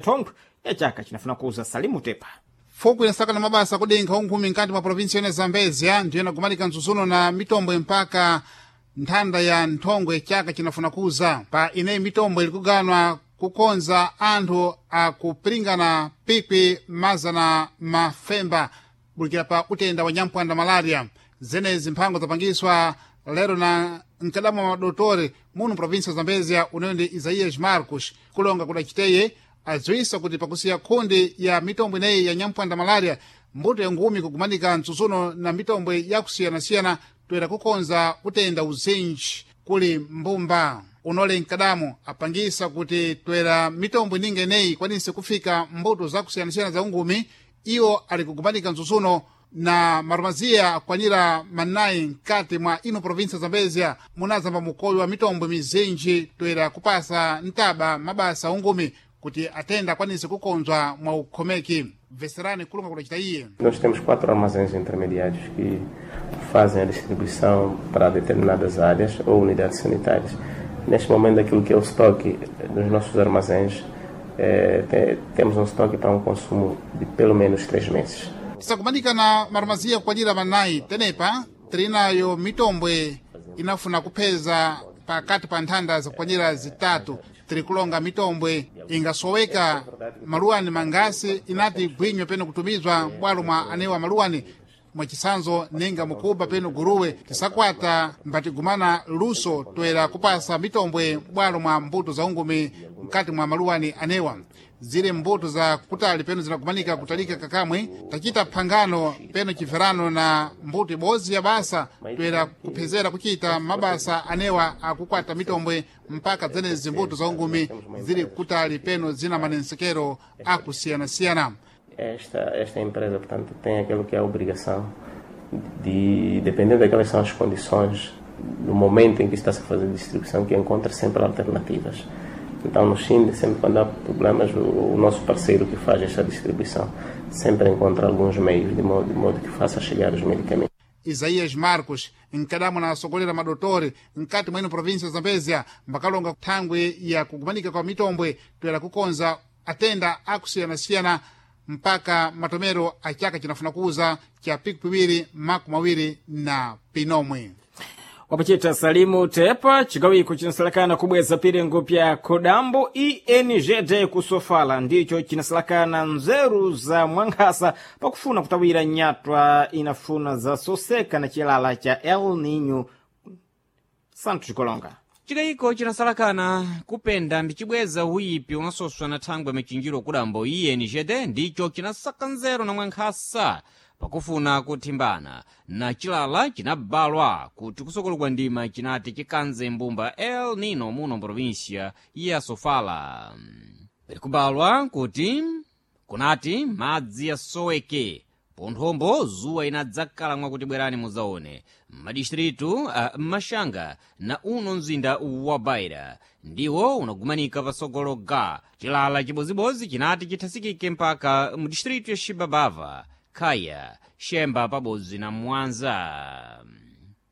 Thongo ya chaka chinafuna kuuza Salimu Tepa. Fuku inasaka na mabasa kudinkha unkhumi nkati mwa provinsi yene Zambezia ndiyena kumalika mtsutsuno na mitombwe mpaka nthanda ya nthongwe chaka chinafuna kuza. Pa ineyi mitombwe ilikuganwa kukonza anthu akupiringana pikwi mazana mafemba bulikira pa utenda wa nyamphwanda malaria. Zenezi mphango zapangiswa lero na mkadamu wa madotore muno provinsi ya Zambezia uneyo ndi Isaías Marcos kulonga kudaciteye adziwisa kuti pakusiya khundi ya mitombo ineyi ya nyamphwanda malaria mbuto ya ngumi kugumanika mtsutsuno na mitombwe yakusiyanasiyana toera kukonza utenda uzinji kuli mbumba. Unole mkadamu apangisa kuti toera mitombo ininga ineyi ikwanise kufika mbuto zakusiyanasiyana za ungumi iwo ali kugumanika mtsutsuno na marumaziya akwanira manayi mkati mwa ino provinsi ya Zambezia munazamba mukoyo wa mitombwe mizinji toera kupasa ntaba mabasa ungumi kuti atenda akwanise kukonzwa mwa ukhomeki. Veserani kulunga kudacita iye. Nós temos quatro armazéns intermediários que fazem a distribuição para determinadas áreas ou unidades sanitárias. Neste momento, aquilo que é o estoque dos nossos armazéns, temos um estoque para um consumo de pelo menos 3 meses. Tisakumanika na marumaziya kukwanira manayi tenepa tilinayo mitombwe inafuna kupheza pakati pa nthanda zakukwanira zitatu. Tiri kulonga mitombwe ingasoweka maluwani mangasi inati gwinywe peno kutumizwa m'bwalo mwa anewa maluwani mwachisanzo ninga mukuba peno guruwe. Tisakwata mbatigumana luso toera kupasa mitombwe m'bwalo mwa mbuto za ungumi mkati mwa maluwani anewa. Zile mbuto za kutali peno zinakumanika kutalika kakamwe tachita phangano peno chimverano na mbuto ibodzi ya basa toera kuphezera kuchita mabasa anewa akukwata mitombwe mpaka zenezi mbuto za ungumi zili kutali peno zina manensekero akusiyanasiyana. Esta empresa, portanto, tem aquilo que é a obrigação de, dependendo daquelas são as condições, no momento em que está-se a fazer a distribuição, que encontra sempre alternativas. Então, no Chile, sempre quando há problemas, o nosso parceiro que faz esta distribuição sempre encontra alguns meios de modo que faça chegar os medicamentos. Isaías Marcos nkadamu na asogolera madotore mkati mwa ino provinsi ya Zambezia mbakalonga thangwi ya kugumanika kwa mitombwe toera kukonza atenda akusiyanasiyana mpaka matomero a chaka chinafuna kuuza cha piku piwiri makumi awiri na pinomwe. Wapachita Salimu Tepa. Chigawiko chinasalakana kubweza pirengo pya Kodambo INGD kusofala ndicho chinasalakana nzeru za mwankhasa pakufuna kutawira nyatwa inafuna zasoseka na chilala cha El Nino. Santos Chikolonga. Chikayiko chinasalakana kupenda mbicibweza uyipi unasoswa na thangwe michinjiro kudambo INGD ndicho chinasaka nzeru na mwankhasa pakufuna kuthimbana na chilala chinabalwa kuti kusokolokwa ndima chinati chikanze mbumba El Nino muno mprovinsia ya Sofala. Likubalwa kuti kunati madzi yasoweke ponthombo zuwa inadzakhala mwakuti bwerani mudzaone madistritu a Mashanga na uno mzinda wa Baira ndiwo unagumanika pasogolo ga chilala chibozibodzi chinati chithasikike mpaka mu distritu ya Xibabava, Khaya, Xemba pabodzi na Mwanza.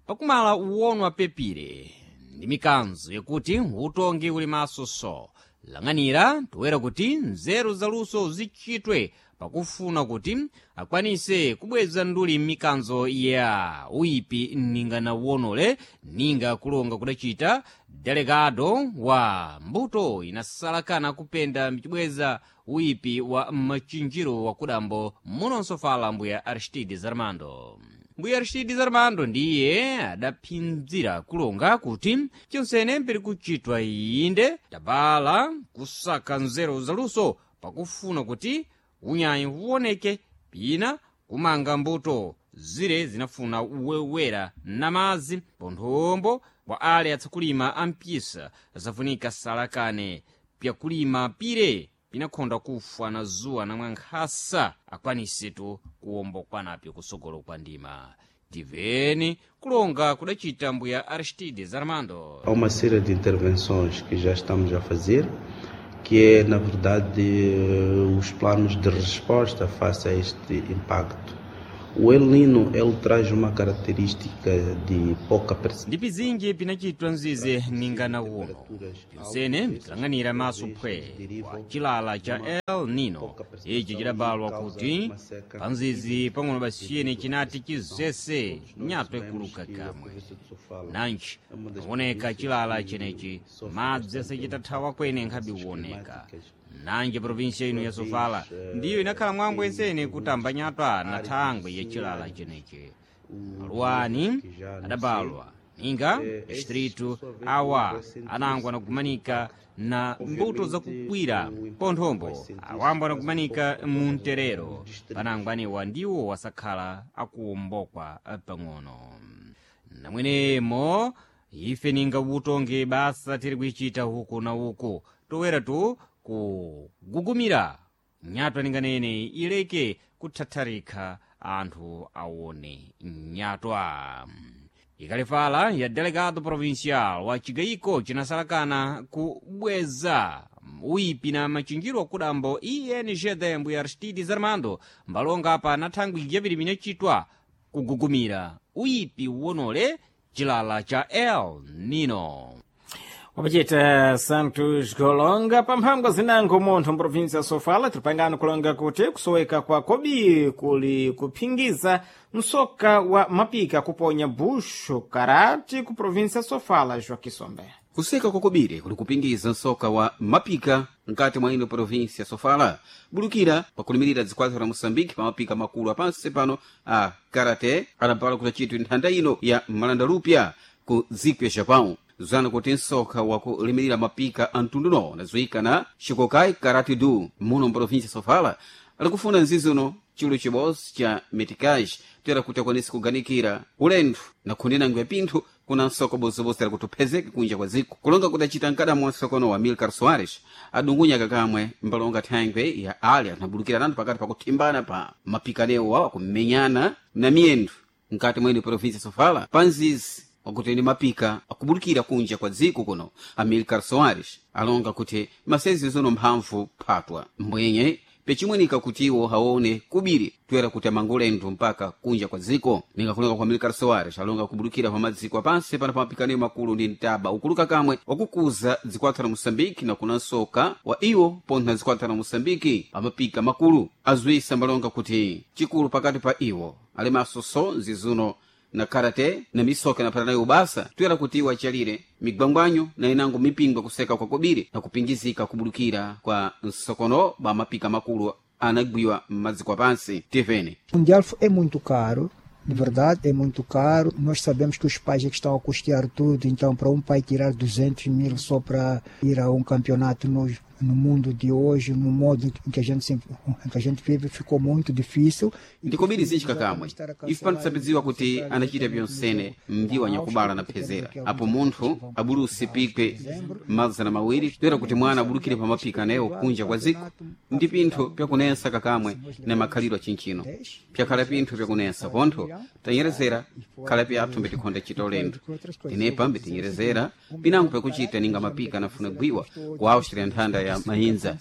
Pakumala uwonwa pepire ndi mikanzo yakuti utongi uli maso so lang'anira toera kuti nzeru zaluso zichitwe pakufuna kuti akwanise kubweza nduli mikanzo ya uyipi ninga na uwonole ninga kulonga kudachita delegado wa mbuto inasalakana kupenda mchibweza uyipi wa machinjiro wa kudambo munonso fala mbuya Aristides Armando. Mbuya Aristides Armando ndiye adaphinzira kulonga kuti chonsene mpiri kuchitwa inde tabala kusaka nzeru zaluso pakufuna kuti unyayi uwoneke pina kumanga mbuto zire zinafuna uwewera na madzi ponthombo kwa ale atsakulima ampisa zafunika salakane pyakulima pire pinakhonda kufa na zuwa na mwankhasa akwanisetu kuwombokwanapyo kusogolo kwa ndima. Tiveni kulonga kudachita mbuya Aristides Armando. Há uma série de intervenções que já estamos a fazer, que é, na verdade, os planos de resposta face a este impacto. O El Nino ele traz uma característica de pouca Ndi pizinji pinachitwa mzizi ningana uno pyonsene bitilanganira maso phwe kwa chilala cha El Nino ichi chidabalwa kuti panzizi pang'ono basiyene chinati chizese nyatwa ikuluka kamwe nanji kuoneka chilala chenechi madzi asachitathawa kwene nkhabe kuoneka. Nanji provinsia ino ya Sofala ndiyo inakhala mwambo ensene kutamba nyatwa na thangwe ya chilala chenechi. Maluwani adabalwa ninga distritu awa anango anakumanika na mbuto zakukwira ponthombo awambo anakumanika munterero panango anewa ndiwo wasakhala akuwombokwa pang'ono. Namwenemo ife ninga utonge basa tiri kuichita huku na uku towera tu kugugumira nyatwa ninganene ileke kuthatharika anthu aone nyatwa. Ikalifala ya delegado provincial wa chigayiko chinasalakana kubweza uipi na machinjiro akudambo INGD mbuya Aristides Armando mbalonga apa na thangwi yapiri minachitwa kugugumira uipi wonole chilala cha El Nino. Wapachita Santos Golonga pamphangwa zinango munthu mprovinsi ya Sofala tilipangano kulonga kuti kusoweka kwa kobi kuli kuphingiza msoka wa mapika kuponya buxo karati ku provinsi ya Sofala. Joaquim Kuseka kwakobiri kuli kupingiza msoka wa mapika mkati mwa ino provinsi ya Sofala bulukira pakulimirira dzikwatho la Moçambique pa mapika makulu apansi pano a karate adapala kutachitwa nthanda ino ya malandalupya ku dziko ya Japão zana kuti msoka wakulimirira mapika a mtunduno unadziwika na Shikokai Karate Do muno mprovinsi ya Sofala alikufuna nzizi uno chilo chibodzi cha metikaj toera kuti akwanise kuganikira ulendo na khundinango ya pinthu kuna nsoko bozobozera kuti uphezeke kunja kwa dziko. Kulonga kudacita mkadamo wa nsokono wa Milcar Soares adungunya kakamwe mbalonga thangwe ya ali anabulukira nanthu pakati pakuthimbana pa mapikanewo awa kumenyana na miyendo mkati mwa provinsi ya Sofala panzizi wakuti ni mapika akubulukira kunja kwa dziko kuno. Amilcar Soares alonga kuti masezi zono mphamvu phatwa mbwenye pechimwenika kuti iwo aone kubiri toera kuti amangolendo mpaka kunja kwa dziko. Ningakulonga kwa Milcar Soares alonga kubulukira pa madziko apansi pano pa mapikaniro makulu ndi mtaba ukuluka kamwe wakukuza dzikwatha la Moçambique na kuna nsoka wa iwo pontho na dzikwatha la Moçambique amapika makulu azuisa mbalonga kuti chikulu pakati pa iwo alimaso so nzizuno na karate na misoka inapata nayo ubasa toera kuti iwo achalire migwangwanyo na inango mipingwa kuseka kwa kobiri na kupingizika kubulukira kwa nsokono ba mapika makulu anagwiwa m'madziko apansi. Tvn Mundial é muito caro, de verdade, é muito caro. Nós sabemos que os pais é que estão a custear tudo, então para um pai tirar 200 mil só para ir a um campeonato no mundo de hoje, no modo em que a gente, em que a gente vive, ficou muito difícil. Ndikobiri zinji kamwe ife pano tisapidziwa kuti anachita pyonsene mdiwa nyakubala na phezera apo munthu abulusi pikwe 200 toera kuti mwana abulukire pa mapika nayewo kunja kwa dziko ndi pinthu pyakunensa kakamwe na makhalidwe achinchino pyakhala pinthu pyakunensa pontho tanyerezera khala pyathu mbitikhonda chita ulendo tenepa mbitinyerezera pinango pyakuchita ninga mapika anafuna gwiwa ku Austria nthanda ya mayinza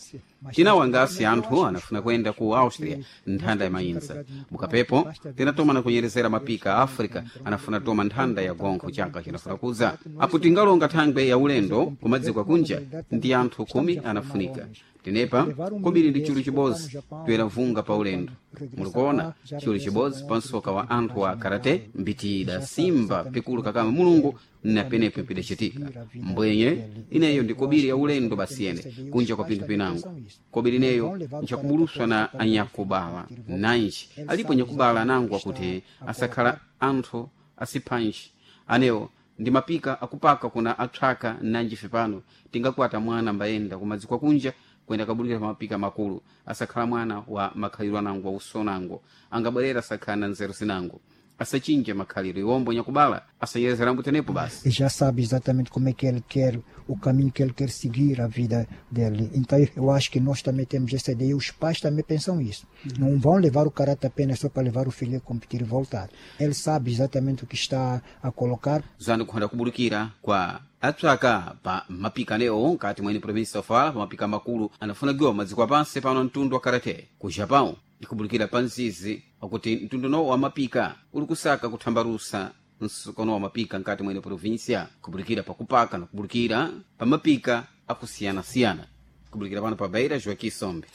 tinawo angasi anthu anafuna kuyenda ku Austria nthanda ya mayinza mukapepo tinatoma na kunyerezera mapika a Africa anafuna toma nthanda ya gonkho chaka chinafuna kuza apo tingalonga thangwe ya ulendo kumadziko akunja ndi anthu 10 anafunika tenepa kobiri ndi chulu chibodzi toera vunga pa ulendo mulikuona chulu chibodzi pa msoka wa anthu wa karate mbitida simba pikulu kakama mulungu na penepo mpidacitika mbwenye ineyo ndi kobiri ya ulendo basiyene kunja kwa pinthu pinango kobiri ineyo nchakubuluswa na anyakubala nanji alipo nyakubala anango akuti asakhala anthu asiphanji anewo ndi mapika akupaka kuna atchaka nanji pano tingakwata mwana mbayenda kumadziko kunja kuyenda kabulukira pa mapika makulu asakhala mwana wa makhalidwe anango wa usonango angabwerera asakhala na nzeru zinango asachinja makhalidwe iwombo nyakubala asanyerezera tenepo basi. E já sabe exatamente como é que ele quer, o caminho que ele quer seguir a vida dele. Então eu acho que nós também temos essa ideia, os pais também pensam isso. Não vão levar o caráter apenas só para levar o filho a competir e voltar. Ele sabe exatamente o que está a colocar. Zanu kuhanda kubulukira kwa atswaka pa mapika anewo nkati mwene provinsi ya Sofala pa mapika makulu anafuna giwa madziko apansi pano mtundu wa karate ku Japão. Ikubulukira pa mzizi wakuti mtunduno wa mapika uli kusaka kuthambalusa msukano wa mapika nkati mwene província, kubulukira pakupaka na kubulukira pa mapika akusiyana-siyana. Kubulukira pano pa Beira, Joaquim Sombe.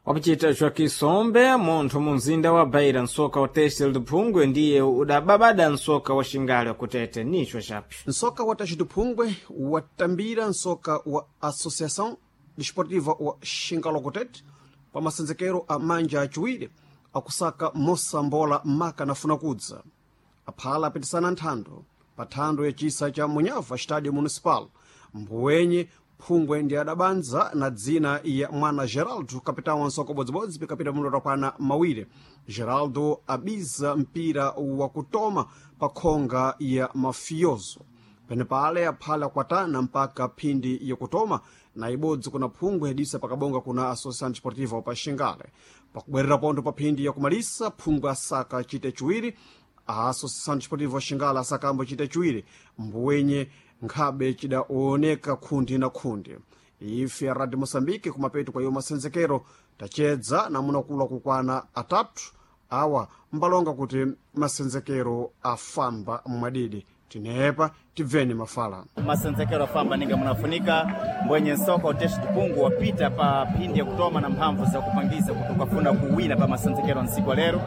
Wakuchita Joaquim Sombe, munthu mu mzinda wa Beira, msoka wa Têxtil de Phungwe ndiye udababada msoka wa Xingale wakutete nicho chapi. Nsoka wa Têxtil de Phungwe watambira nsoka wa Associação Desportiva wa Xingalo Kutete pa masenzekero a manja aciwiri akusaka mosambola maka nafuna kudza. Aphala apitisana nthando pa thando ya cisa cha Munhava Estádio Municipal. Mbuwenye Phungwe ndi adabanza na dzina ya mwana Geraldo, kapitão wa nsoka ubodzibodzi pikapita mundo utakwana mawiri. Geraldo abiza mpira wakutoma pa khonga ya mafioso. Penepale aphala akwatana mpaka phindi yakutoma na ibodzi kuna Phungwe yadisa pakabonga kuna Associação Desportiva pa Xingale. Pakubwerera pontho pa phindi yakumalisa, Phungwe asaka chite chiwiri, a Associação Desportiva Xingale asakambo chite chiwiri, mbuwenye nkhabe chidaoneka khundi na khundi. Ife ya Radio Moçambique kumapeto kwa iwo masenzekero tachedza namunakula kukwana atatu awa mbalonga kuti masenzekero afamba mwadidi. Tinepa tibveni mafala. Masenzekero afamba ninga munafunika mbwenye nsoka uteshi tupungu wapita pa phindi ya kutoma na mphamvu za kupangiza kuti ukafuna kuwina pa masenzekero nsiku lero,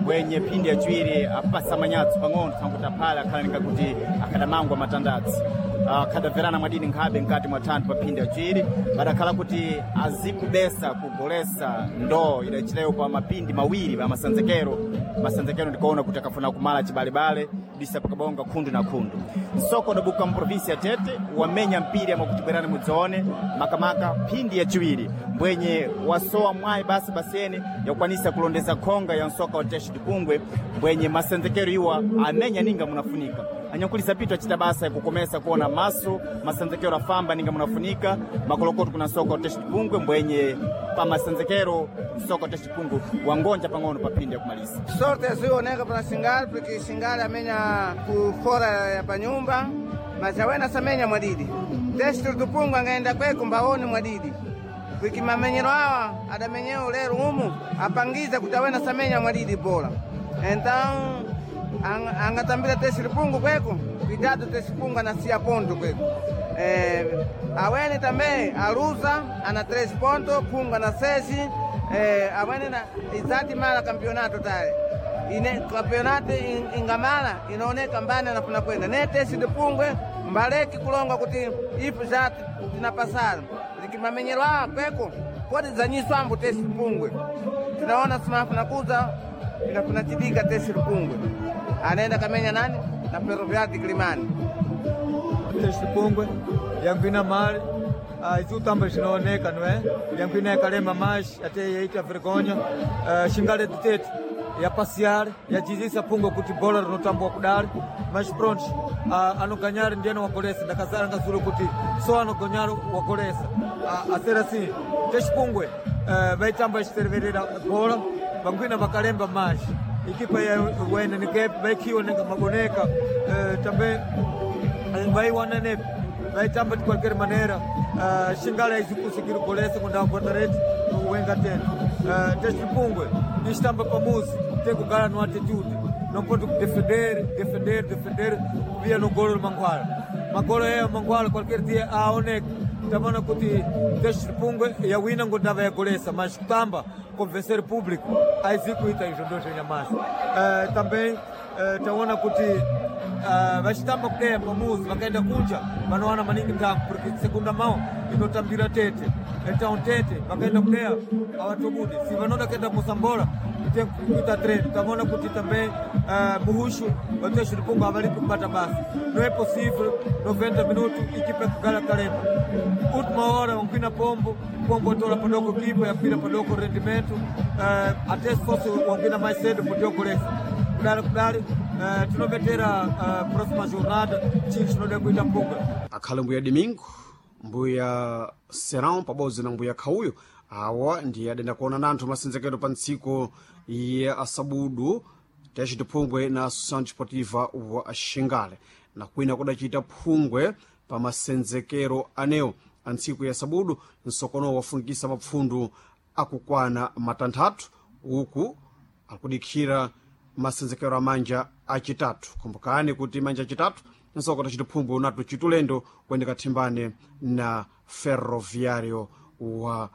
mbwenye phindi ya chiwiri apasa manyatso pang'ono tsankuti aphala akhala kuti akadamangwa matandatsi, akadamverana mwadini nkhabe nkati mwa thanthu pa phindi ya chiwiri badakhala kuti azikubesa kugolesa ndoo idachileyo pa mapindi mawiri pa masenzekero. Masenzekero ndikuona kuti akafuna kumala chibalebale disa pakabonga khundu na khundu. Nsoko udabuka mprovinsi ya Tete wamenya mpira mwakuti bwerani mudzaone makamaka phindi ya chiwiri mbwenye wasowa mwayi basi basene yakukwanisa kulondeza khonga ya nsoka wa Têxtil Pungwe, mbwenye masenzekero iwa amenya ninga munafunika. Anyankulisa pitu achita basa yakukomesa kuona maso masenzekero afamba ninga munafunika makolokoto kuna nsoka wa Têxtil Pungwe, mbwenye pa masenzekero nsoka wa Têxtil Pungwe wangonja pang'ono pa phindi yakumalisa. Sorte azioneka pana Xingale porque Xingale amenya ku fora ya panyumba, mas awena samenya mwadidi. Têxtil do Pungwe angaenda kweko mbaone mwadidi porque mamenyero awa adamenyeo lero umu apangiza kuti awena samenya mwadidi bola. Então angatambira Têxtil Pungwe kweko, cuidado Têxtil Pungwe anasiya ponto kweko. Awene também aluza ana 3 pontos, Pungwe ana 6. Awene na izati mala campeonato tale ine campeonato ingamala inaoneka mbani anafuna kwenda ne Têxtil de Pungwe mbaleki kulonga kuti ifu za tinapasana likimamenyero awa kweko kodi zanyiswa ambu Têxtil Pungwe tinaona simafuna kuza inafuna chidika Têxtil Pungwe anaenda kamenya nani na Ferroviário de Quilimane. Têxtil Pungwe yankwina mali izi utamba zinaoneka não é? Yankwina yakalema mais até yaita vergonha. Xingale de Tete ya passear yajizisa Pungwe kuti bola rinotambwa kudali, mas pronto, anoganhar ndiye wagolesa. Ndakazara ngazulu kuti só anoganhar wagolesa. A ser assim, Têxtil Pungwe vaitamba ichiterverera bola vangwina vakalemba mais equipa ya wene nikepe vaikhiwa nenga maboneka, também vaiwana nepe vaitamba de qualquer maneira. Xingale aizikusegir golesa quando guarda-redes wenga tena. Têxtil Pungwe istamba pamuzi tem que ganhar no atitude, não pode defender, defender, defender via no golo do Manguala. Magolo é Manguala qualquer dia a onek tamana kuti Têxtil Pungwe ya wina ngondava ya golesa, mas kutamba convencer o público aizikuita izvo ndozvenyamasi. Também taona kuti vachitamba kudeya pamuzi vakaenda kunja vanowana maningi ntango porque segunda mão inotambira Tete. Então Tete vakaenda kudeya avatobudi si vanoda kuenda musambola tem kuita treino. Tamaona kuti também muhushu wa Têxtil Pungwe avalipi kubata basa. Não é possível 90 minutos equipa kugala kalema última hora wankwina pombo pombo atola padoko kipa yakwira padoko rendimento, até se fosse wankwina mais cedo podia golesa kudali kudali. Tinovetera próxima jornada chinthu chinoda kuita Pungwe. Akhale mbuya Domingo, mbuya Serão pabodzi na mbuya Khauyo awa ndiye adenda kuona nanthu masenzekero pa ntsiku ya asabudu Têxtil Pungwe na Associação Desportiva wa Xingale. Na kwina kudacita Phungwe pa masenzekero anewo a ntsiku ya sabudu nsokono wafunikisa mapfundu akukwana matanthatu. Uku akudikira masenzekero a manja acitatu. Kumbukani kuti manja acitatu nsoka tacitiphumbu unatu citulendo kuyendeka thimbane na Ferroviário wa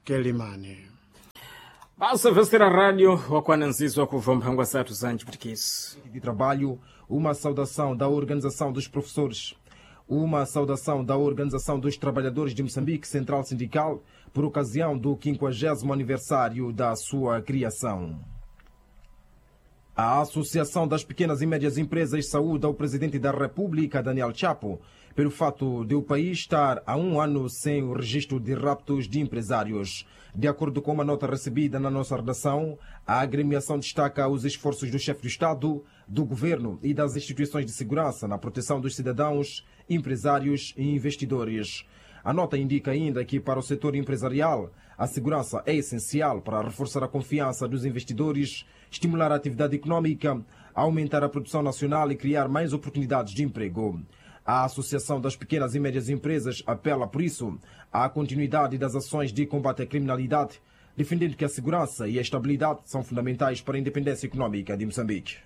Quelimane. Basa Vestera Rádio wakwana nzizo kubva mphangwa zathu za nciputikizo. De trabalho, uma saudação da Organização dos Professores. Uma saudação da Organização dos Trabalhadores de Moçambique, Central Sindical, por ocasião do 50º aniversário da sua criação. A Associação das Pequenas e Médias Empresas saúda o Presidente da República, Daniel Chapo, pelo fato de o país estar há um ano sem o registro de raptos de empresários. De acordo com uma nota recebida na nossa redação, a agremiação destaca os esforços do chefe do Estado, do governo e das instituições de segurança na proteção dos cidadãos, empresários e investidores. A nota indica ainda que, para o setor empresarial, a segurança é essencial para reforçar a confiança dos investidores, estimular a atividade econômica, aumentar a produção nacional e criar mais oportunidades de emprego. A Associação das Pequenas e Médias Empresas apela, por isso, à continuidade das ações de combate à criminalidade, defendendo que a segurança e a estabilidade são fundamentais para a independência econômica de Moçambique.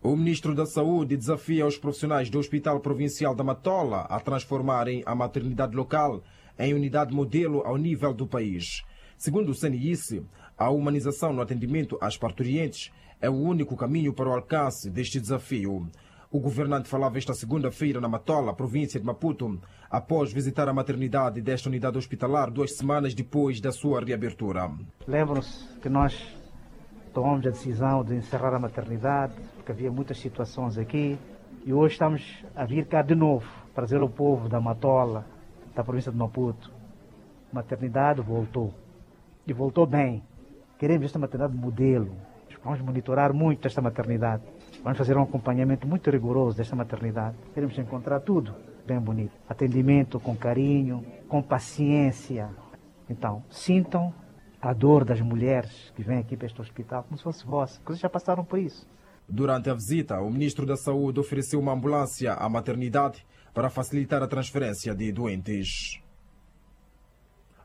O ministro da Saúde desafia os profissionais do Hospital Provincial da Matola a transformarem a maternidade local em unidade modelo ao nível do país. Segundo o CNIC, a humanização no atendimento às parturientes é o único caminho para o alcance deste desafio. O governante falava esta segunda-feira na Matola, província de Maputo, após visitar a maternidade desta unidade hospitalar 2 semanas depois da sua reabertura. Lembram-se que nós tomamos a decisão de encerrar a maternidade, porque havia muitas situações aqui, e hoje estamos a vir cá de novo para dizer ao povo da Matola, da província de Maputo, a maternidade voltou, e voltou bem. Queremos esta maternidade modelo, vamos monitorar muito esta maternidade, vamos fazer um acompanhamento muito rigoroso desta maternidade. Queremos encontrar tudo bem bonito, atendimento com carinho, com paciência. Então, sintam a dor das mulheres que vêm aqui para este hospital, como se fosse vossa, porque vocês já passaram por isso. Durante a visita, o ministro da Saúde ofereceu uma ambulância à maternidade para facilitar a transferência de doentes.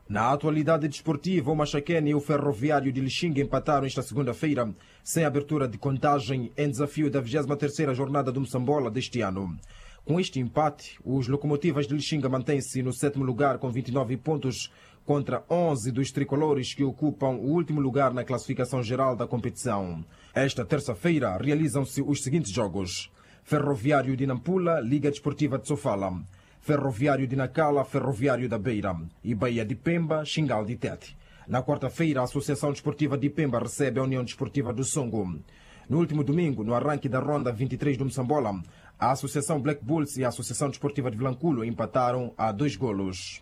Na atualidade desportiva, o Maxaquene e o Ferroviário de Lixinga empataram esta segunda-feira, sem abertura de contagem, em desafio da 23ª jornada do Moçambola deste ano. Com este empate, os Locomotivas de Lixinga mantêm-se no 7º lugar com 29 pontos, contra 11 dos tricolores que ocupam o último lugar na classificação geral da competição. Esta terça-feira realizam-se os seguintes jogos: Ferroviário de Nampula, Liga Desportiva de Sofala; Ferroviário de Nacala, Ferroviário da Beira; e Baía de Pemba, Xingal de Tete. Na quarta-feira, a Associação Desportiva de Pemba recebe a União Desportiva do Songo. No último domingo, no arranque da ronda 23 do Moçambola, a Associação Black Bulls e a Associação Desportiva de Vilanculo empataram a 2 golos.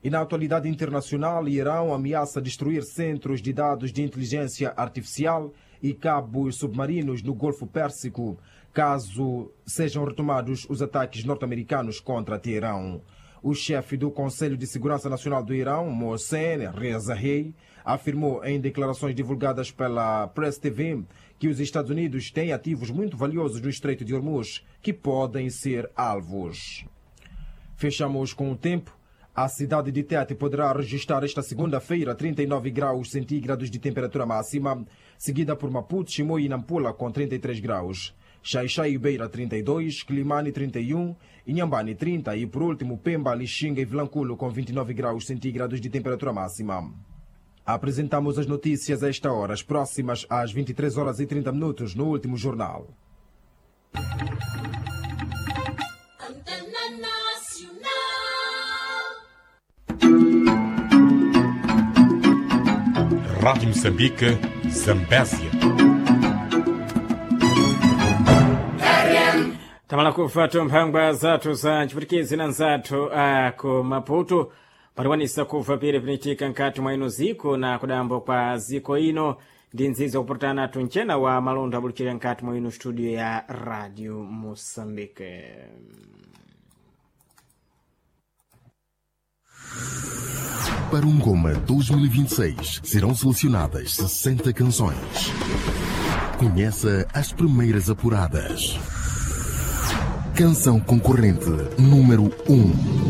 E na atualidade internacional, Irão ameaça destruir centros de dados de inteligência artificial e cabos submarinos no Golfo Pérsico, caso sejam retomados os ataques norte-americanos contra Teherão. O chefe do Conselho de Segurança Nacional do Irão, Mohsen Rezaei, afirmou em declarações divulgadas pela Press TV que os Estados Unidos têm ativos muito valiosos no Estreito de Hormuz que podem ser alvos. Fechamos com o tempo. A cidade de Tete poderá registrar esta segunda-feira 39 graus centígrados de temperatura máxima, seguida por Maputo, Chimoio e Nampula com 33 graus. Xaixai e Beira 32, Climane 31, Inhambane 30 e, por último, Pemba, Lixinga e Vilanculo com 29 graus centígrados de temperatura máxima. Apresentamos as notícias a esta hora, as próximas às 23h30 no último jornal. Rádio Moçambique, Zambésia. Tamala kufa mphangwa zathu za nciputikizi na nzathu ku Maputo pariwanisa kuva pire pinitika nkati mwa ino ziko na kudambo kwa ziko ino ndi nzizo kupurutana tunchena wa malondo abulukira nkati mwa ino studio ya Radio Moçambique. Para o Ngoma 2026 serão selecionadas 60 canções. Conheça as primeiras apuradas. Canção concorrente número 1.